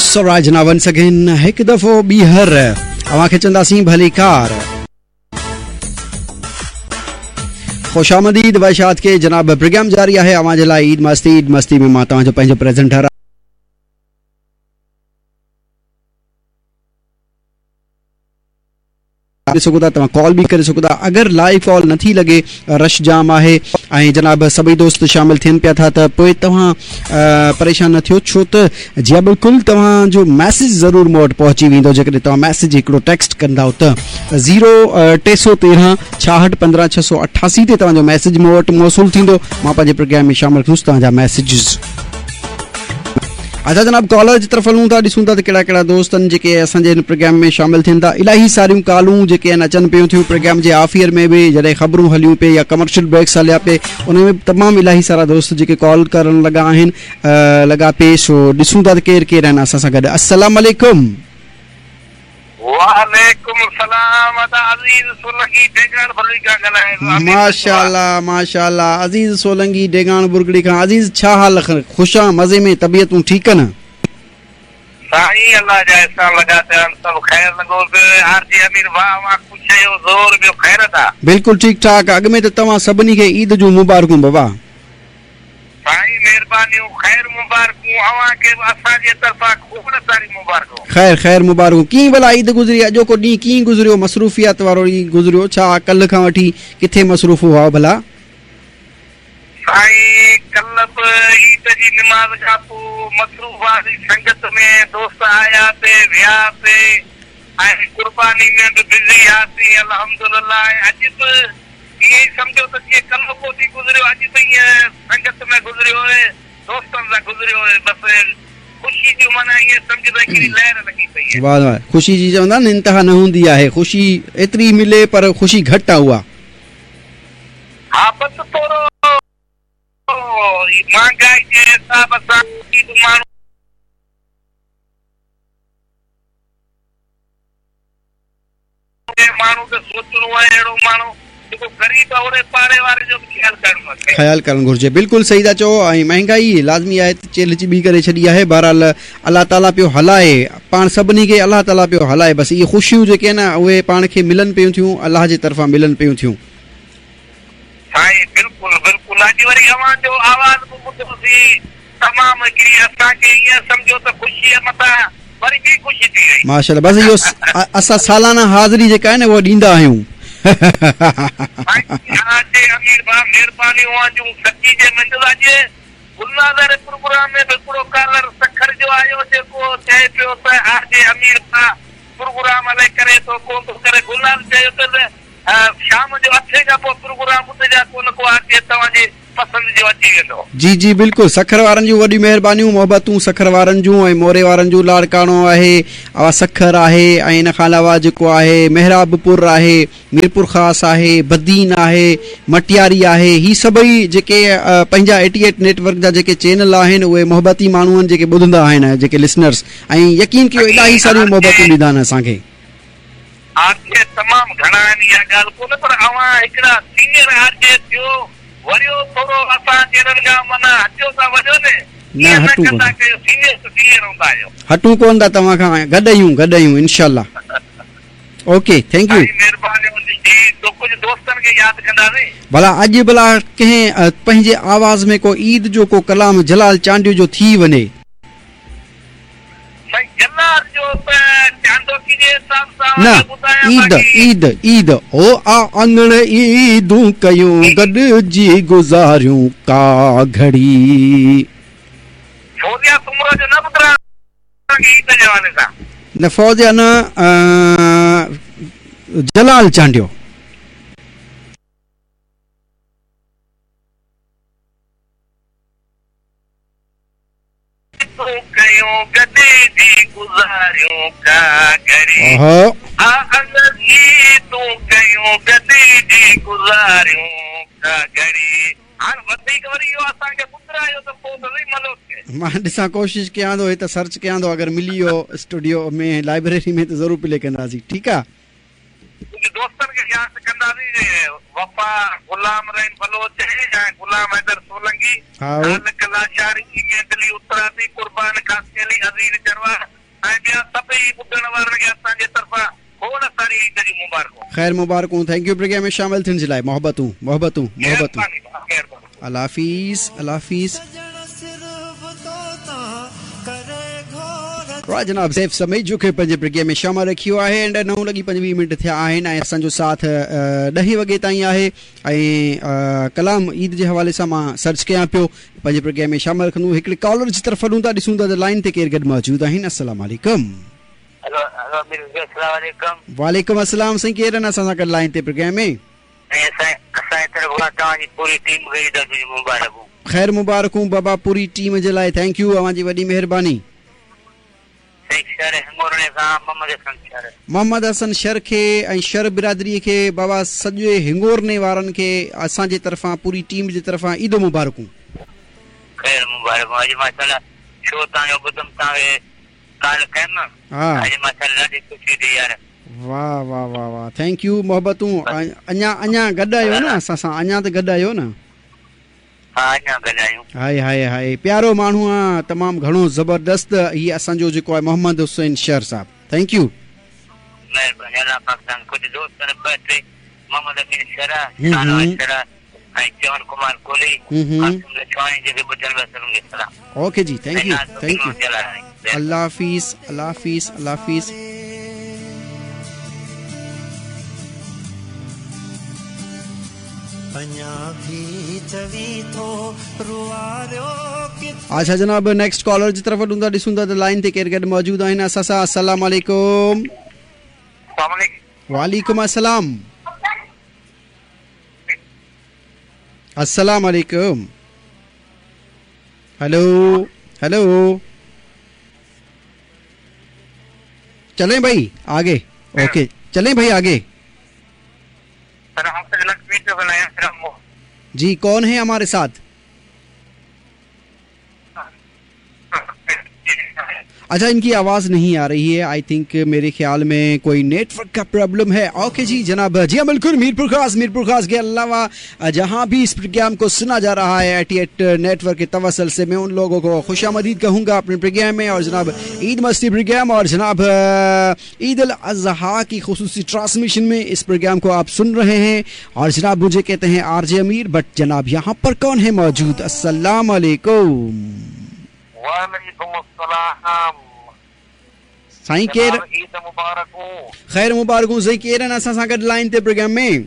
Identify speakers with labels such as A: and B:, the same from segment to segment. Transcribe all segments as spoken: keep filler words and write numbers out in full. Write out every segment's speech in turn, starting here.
A: So once again हिकु दफ़ो ॿीहर अव्हां खे चवंदासीं भलीकार, ख़ुशामदीद वैशात के जनाब। प्रोग्राम जारी आहे अव्हां जे लाइ ईद मस्ती। ईद मस्ती में मां तव्हांजो पंहिंजो प्रेजेंटर सघो था, तव्हां कॉल बि करे सघो था। अगरि लाइव कॉल नथी लॻे, रश जाम आहे ऐं जनाब सभई दोस्त शामिल थियनि पिया था, त पोइ तव्हां परेशान न थियो, छो त जी हा बिल्कुलु तव्हांजो मैसेज ज़रूरु मूं वटि पहुची वेंदो। जेकॾहिं तव्हां मैसेज हिकिड़ो टेक्स्ट कंदव त ज़ीरो टे सौ तेरहं छाहठि पंद्रहं छह सौ अठासी ते तव्हांजो मैसेज मूं वटि मौसूल थींदो। मां पंहिंजे प्रोग्राम में शामिल कंदुसि तव्हांजा मैसेजिस। अच्छा जनाब, कॉलर जी तरफ़ हलूं था, ॾिसूं था त कहिड़ा कहिड़ा दोस्त आहिनि जेके असांजे हिन प्रोग्राम में शामिल थियनि था। इलाही सारियूं कॉलूं जेके आहिनि अचनि पियूं थियूं प्रोग्राम जे आफ़ियर में बि, जॾहिं ख़बरूं हलियूं पई या कमर्शियल ब्रेक्स हलिया पई, उन में तमामु इलाही सारा दोस्त जेके कॉल करण लॻा आहिनि, लॻा पई। सो ॾिसूं था त केरु केरु आहिनि असां सां गॾु। अस्सलाम वालेकुम।
B: वालेकुम सलाम। अज़ीज़ सोलंगी डेगाण बुरगड़ी खां ॻाल्हायां।
A: माशाअल्लाह माशाअल्लाह, अज़ीज़ सोलंगी डेगाण बुरगड़ी खां। अज़ीज़ छा हाल? ख़ुशि आहियाँ, मज़े में, तबीयतूं ठीकु आहिनि?
B: साईं अल्लाह जा एहसान लॻा पिया आहिनि, सभु ख़ैर लॻो पियो। आर जी अमीर वाह वाह, ख़ुशि आहियो, ज़ोर ॿियो ख़ैर था?
A: बिल्कुलु ठीकु ठाक। अॻु में त तव्हां सभिनी खे ईद जूं मुबारकूं बाबा।
B: साईं महिरबानियूं, ख़ैर मुबारकूं अव्हां खे बि असांजे तरफ़ां खोड़ सारी मुबारकूं।
A: ख़ैर ख़ैर मुबारकूं। कीअं भला ईद गुज़री? अॼोको ॾींहुं कीअं गुज़रियो? मसरूफ़ियत वारो ॾींहुं गुज़रियो छा? कल्ह खां वठी किथे मसरूफ़ हुआ भला?
B: साईं कल्ह बि ईद जी निमाज़ खां पोइ मसरूफ़ हुआसीं, संगत में दोस्त आया पे विया पे ऐं कुर्बानी में बि बिज़ी हुआसीं अल्हम्दुलिल्लाह। अॼु बि ईअं ई सम्झो त जीअं कल्ह को ॾींहुं गुज़रियो, अॼु बि ईअं संगत में गुज़रियो आहे, दोस्तनि सां गुज़रियो आहे। बसि ख़ुशी जो माना ईअं सम्झो त हिकिड़ी लहर लॻी पई आहे।
A: वाह वाह, ख़ुशी जी चवंदा आहिनि इंतिहा न हूंदी आहे, ख़ुशी एतिरी मिले पर ख़ुशी घटि आहे उहा।
B: हा बसि थोरो महांगाई जे हिसाब सां माण्हू माण्हू खे सोचिणो आहे, अहिड़ो माण्हू जेको ग़रीब आहे ओड़े पाड़े वारे जो बि ख़्यालु करणु खपे।
A: ख़्यालु करणु घुरिजे, बिल्कुलु सही था चओ। ऐं महांगाई लाज़मी आहे त चेल्ह चिबी करे छॾी आहे। बहरहाल अलाह ताला पियो हलाए पाण सभिनी खे, अलाह ताला पियो हलाए। बसि इहे ख़ुशियूं जेके आहिनि न उहे पाण खे मिलनि पियूं थियूं, अलाह जे तरफ़ां मिलनि पियूं थियूं।
B: साईं बिल्कुलु बिल्कुलु। अॼु वरी अव्हांजो आवाज़ बि ॿुधोसीं, तमामु हिकिड़ी असांखे ईअं सम्झो त ख़ुशीअ मथां वरी ॿी ख़ुशी थी वई।
A: माशाअल्लाह। बसि इहो असां सालाना हाज़िरी जेका आहे न उहा ॾींदा आहियूं।
B: अमीर भाउ महिरबानी अव्हांजूं सची जे मंहिंजो। अॼु गुलनाज़ प्रोग्राम में बि हिकिड़ो कॉलर सखर जो आयो जेको चए पियो त आर जे अमीर भाउ प्रोग्राम अलाए करे थो कोन थो करे। गुलनाज़ चयो त शाम जो अठे खां पोइ प्रोग्राम ॿुधजा, कोन को आर जे तव्हांजी पसंदि जो अची वेंदो।
A: जी जी बिल्कुलु, सखर वारनि जूं वॾियूं महिरबानियूं, मोहबतूं सखर वारनि जूं ऐं मोरे वारनि जूं। लाड़काणो आहे, सखर आहे ऐं इन खां अलावा जेको आहे मेहराबपुर आहे, मीरपुर ख़ासि आहे, बदीन आहे, मटियारी आहे। ही सभई जेके पंहिंजा एटी एट नेटवर्क जा जेके चैनल आहिनि उहे मोहबती माण्हू आहिनि जेके ॿुधंदा आहिनि, जेके लिसनर्स, ऐं यकीन कयो इलाही सारियूं मोहबतूं ॾींदा आहिनि असांखे।
B: आर जे तमामु घणा आहिनि, इहा ॻाल्हि कोन, पर अव्हां हिकिड़ा सीनियर आर जे थियो, वरियो थोरो असां जहिड़नि खां माना हटियो था वञो न,
A: न हटूं
B: कोन कयो, सीनियर त सीनियर हूंदा आहियो।
A: हटूं कोन था तव्हां खां, गॾु आहियूं, गॾु आहियूं इंशाअल्लाह। Okay, thank you.
B: महिरबानी जी। तो कुझु दोस्तनि खे यादि कंदासीं
A: भला। अॼु भला कंहिं पंहिंजे आवाज़ में को ईद जो को कलाम जलाल चांडियो जो थी वञे। न ईद ईद ईद ओ आ आंगण ईदूं कयूं गॾिजी गुज़ारियूं का घड़ी। न फौजिया न जलाल चांडियो। मां ॾिसां कोशिशि कयां थो, हिते सर्च कयां थो, अगरि मिली वियो स्टूडियो में लाइब्रेरी में त ज़रूरु प्ले कंदासीं। ठीकु आहे।
B: दोस्तनि खे यादि कंदासीं, वफ़ा गुलाम रहीम बलोच ऐं गुलाम हैदर सोलंगी, लाशारी, मेदली उत्तरादी, कुर्बान खासकेली, अज़ीज़ चरवा, वारनि खे असांजे तरफ़ां खोड़ सारी ईद जी मुबारकूं।
A: ख़ैर मुबारकूं। Thank you programme में शामिल थियण जे लाइ। मोहबतूं मोहबतूं मोहबतूं। अल्लाह हाफ़िज़ अल्लाह हाफ़िज़। जनाब सैफ समेजो खे पंहिंजे प्रोग्राम में शामिल रखियो आहे। एंड नौ लॻी पंजवीह मिंट थिया आहिनि ऐं असांजो साथ ॾहें वॻे ताईं आहे। ऐं कलाम ईद जे हवाले सां मां सर्च कयां पियो, पंहिंजे प्रोग्राम में शामिल रखंदो। हिकिड़े कॉलर जी तरफ़ हलूं था, ॾिसूं था त लाइन ते केरु गॾु मौजूदु आहिनि। अस्सलाम वालेकुम। वालेकुम अस्सलाम। साईं केरु आहिनि असां सां गॾु लाइन ते प्रोग्राम में? ख़ैर मुबारकूं बाबा पूरी टीम जे लाइ। Thank you, अव्हां जी वॾी महिरबानी। मोहम्मद हसन शर खे ऐं शर बिरादरीअ खे बाबा सॼे हिंगोरने वारनि खे असांजे तरफ़ां पूरी टीम जे तरफ़ां ईद मुबारकूं।
B: ख़ैर मुबारकूं। अॼु माशाअल्लाह शो तव्हांजो ॿुधुमि, तव्हांखे कॉल कयमि, अॼु माशाअल्लाह ॾाढी ख़ुशी थी यार।
A: वाह वाह वाह वाह, thank you. मोहबतूं। अञा अञा गॾु आहियो न असां सां? अञा त गॾु आहियो न? हाय हाय हाय, प्यारो माण्हू आहे, तमामु घणो ज़बरदस्त हीउ असांजो जेको आहे मोहम्मद हुसैन शर साहब। Thank you. Okay ji, thank you thank you. अल्लाह हाफ़िज़ अल्लाह हाफ़िज़ अल्लाह हाफ़िज़। अच्छा जनाब, नेक्स्ट कॉलर जी तरफ़ हलूं था, ॾिसूं था त लाइन ते केरु गॾु मौजूदु आहिनि असां सां। अस्सलाम वालेकुम। वालेकुम अस्सलाम। अस्सलाम वालेकुम। हेलो हेलो, चलें भाई आगे? ओके चलें भाई आगे। जी कौन है हमारे साथ? अच्छा, इनकी आवाज़ नहीं आ रही है। I think मेरे ख्याल में कोई नेटवर्क का प्रॉब्लम है। ओके जी जनाब, जी हाँ बिल्कुल, मीरपुर खास मीरपुर खास के अलावा जहाँ भी इस प्रोग्राम को सुना जा रहा है एटी एट नेटवर्क के तवसल से, मैं उन लोगों को खुशामदीद कहूँगा अपने प्रोग्राम में। और जनाब ईद मस्ती प्रोग्राम और जनाब ईद अल अज़हा की खुसूसी ट्रांसमिशन में इस प्रोग्राम को आप सुन रहे हैं। और जनाब मुझे कहते हैं आर जे अमीर, बट जनाब यहाँ पर कौन है मौजूद? अस्सलाम वालेकुम।
B: वालेकुम अस्सलाम।
A: साईं केर?
B: ईद मुबारकूं।
A: ख़ैर मुबारकूं। साईं केर आहिनि असां सां गॾु लाइन ते प्रोग्राम में?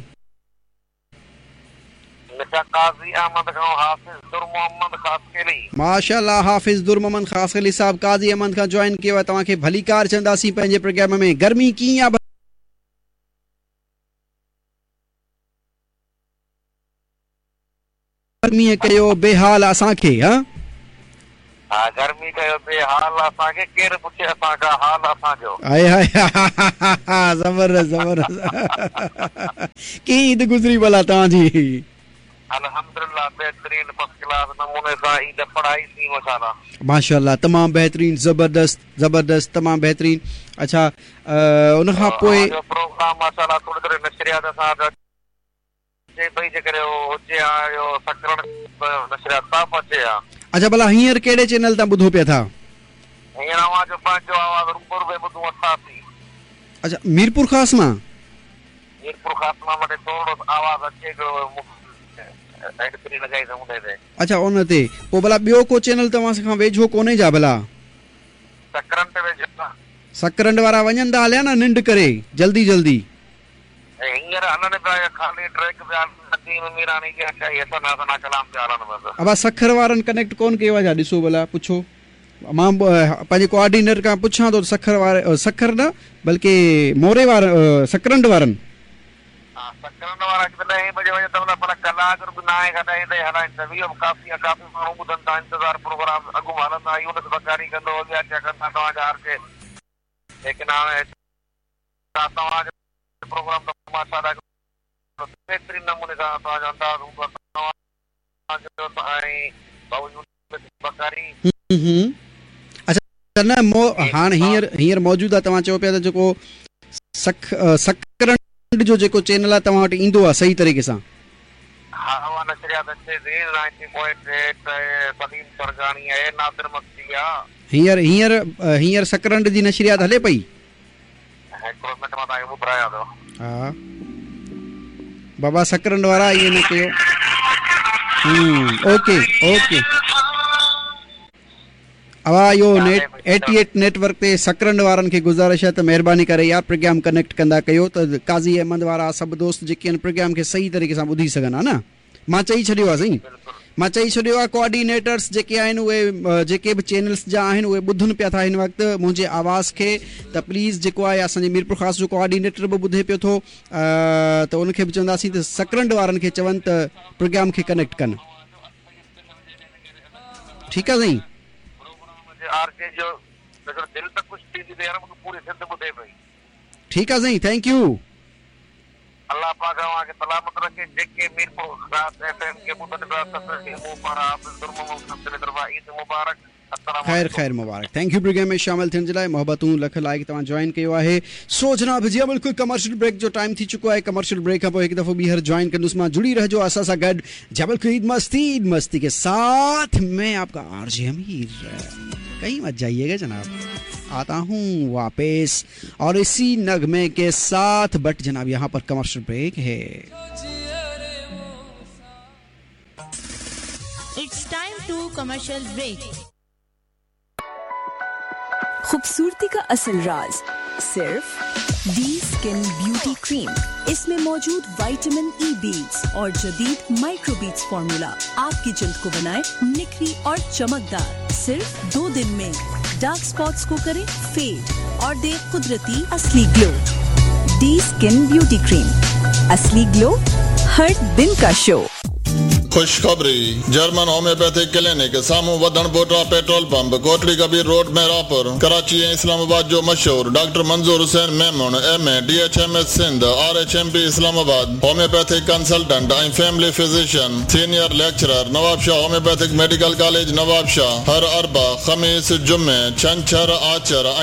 B: काज़ी अहमद खां हाफ़िज़ दुर मोहम्मद ख़ासकेली।
A: माशाअल्लाह, हाफ़िज़ दुर मोहम्मद ख़ासकेली साहब काज़ी अहमद खां जॉइन कयो आहे। तव्हांखे भलीकार चवंदासीं पंहिंजे प्रोग्राम में। गर्मी कीअं आहे? गर्मीअ कयो बेहाल असांखे। हा
B: हा, गर्मी कयो बेहाल असांखे, केरु पुछे असांखां हाल असांजो।
A: हाय हाय, ज़बरदस्त ज़बरदस्त। कीअं ईद गुज़री भला तव्हांजी?
B: अल्हम्दुलिल्लाह, बेहतरीन फर्स्ट क्लास नमूने सां ईद पढ़ाईसीं माशाअल्लाह।
A: माशाअल्लाह, तमामु बेहतरीन, ज़बरदस्त ज़बरदस्त, तमामु बेहतरीन। अच्छा, उन खां पोइ
B: प्रोग्राम माशाअल्लाह थोरी थोरी नशरियात असां अचे पई, जेकॾहिं हुजे हा इहो सकरण नशरियात साफ़ अचे हा।
A: अच्छा भला हींअर कहिड़े चैनल तां ॿुधो पिया था?
B: हींअर अव्हांजो पंहिंजो आवाज़ रूबरू में ॿुधूं अथासीं।
A: अच्छा, मीरपुर ख़ास मां?
B: मीरपुर ख़ास मां वटि थोरो आवाज़ अचे पियो।
A: अच्छा, उन ते पोइ भला ॿियो को चैनल तव्हां खां वेझो कोन्हे छा भला?
B: सकरंड वेझो।
A: सकरंड वारा वञनि था हलिया न निंड करे जल्दी जल्दी।
B: हींअर हलनि पिया, ख़ाली ट्रैक पिया हलनि, मीरानी कलाम पिया हलनि बसि।
A: अबा सखर वारनि कनेक्ट कोन कयो आहे छा? ॾिसो भला, पुछो। मां पंहिंजे कोऑर्डिनेटर खां पुछां थो। सखर वारे, सखर न बल्कि मोरे वार सकरंड वारनि।
B: हा, सकरंड वारा ॾहें बजे वञनि त पर कलाक बि न आहे, ॾहें ताईं हलाइनि त इहो बि काफ़ी आहे, काफ़ी माण्हू ॿुधनि था, इंतज़ार प्रोग्राम अॻु हलंदा, यूनिस बकारी कंदो, अॻियां छा कंदा तव्हांजा हर के। लेकिन हाणे तव्हांजो प्रोग्राम त माशाअल्लाह बेहतरीन नमूने सां तव्हांजो अंदाज़ हूंदो आहे तव्हांजो ऐं भाऊ यूनिस बकारी।
A: अच्छा, न मो हाणे हींअर हींअर मौजूदु आहे, तव्हां चओ पिया त जेको सख सकरंड जो जेको चैनल आहे तव्हां वटि ईंदो आहे सही तरीक़े सां?
B: हा, उहा नशरियात अचे थी नाइनटी पॉइंट एट सलीम सरगानी आहे, नादिर मक्सी आहे।
A: हींअर हींअर हींअर सकरंड जी नशरियात हले पई?
B: ٻڌايان ٿو.
A: ها بابا سڪرنڊ وارا ائين نه ڪيو. اوڪي اوڪي اوا اهو net eighty eight net work تي سڪرنڊ وارن کي گذارش آهي ته مهرباني ڪري يار پروگرام ڪنيڪٽ ڪندا ڪيو ته قاضي احمد وارا سڀ دوست جيڪي آهن پروگرام کي صحيح طريقي سان ٻڌي سگهن ها نه. مان چئي ڇڏيو آهي سائين، مان چئي ڇڏيو آهي ڪوآرڊينيٽرس جيڪي آهن اهي جيڪي به چينلس جا آهن اهي ٻڌن پيا ٿا هن وقت منهنجي آواز کي ته پليز جيڪو آهي اسان جي ميرپور خاص جو ڪوآرڊينيٽر به ٻڌي پيو ٿو ته ان کي به چونداسين ته سڪرنڊ وارن کي چون ته پروگرام کي ڪنيڪٽ ڪن. ٺيڪ آهي سائين. ٺيڪ آهي سائين، thank you.
B: الله پاڪ اوهان کي سلامت رکي. جيڪي ميرپور خاص ايف ايم کي ٻڌن پيا سڀني کي مون پاران حافظ در محمد سنڌي طرفان عيد مبارڪ.
A: خير خير مبارڪ. Thank you programme ۾ شامل ٿيڻ جي لاءِ محبتون لک لائق توهان جوائن ڪيو آهي. سو جناب جي بلڪل ڪمرشل بريڪ جو ٽائيم ٿي چڪو آهي. ڪمرشل بريڪ کان پوءِ هڪ دفعو ٻيهر جوائن ڪندس مان. جڙي رهجو اسان سان گڏ. جي بلڪل عيد مستي عيد مستي ڪي ساٿ में आपका आरजे अमीर. कहीं मत जाइएगा जनाब, आता हूँ वापस और इसी नगमे के साथ. बट जनाब यहाँ पर कमर्शियल ब्रेक है.
C: It's time to commercial break.
D: खूबसूरती का असल राज सिर्फ डी स्किन ब्यूटी क्रीम. इसमें मौजूद विटामिन ई बीड्स और जदीद माइक्रोबीड्स फार्मूला आपकी जिल्द को बनाए निखरी और चमकदार. सिर्फ दो दिन में डार्क स्पॉट्स को करे फेड और दे कुदरती असली glow. D skin beauty cream, असली ग्लो हर दिन का शो.
E: खुशखबरी, जर्मन होम्योपैथिक क्लिनिक साम्हूं Wadhan Pota petrol pump, Kotri Kabir road Mehrapur, Karachi ऐं इस्लामाबाद जो मशहूर doctor Manzoor Hussain Memon, M A D H M S Sindh, R H M P Islamabad, homeopathic consultant ऐं family physician, senior lecturer, Nawabshah homeopathic medical college Nawabshah. हर अरबा, ख़मीस, जुमे, छंछर, आचर।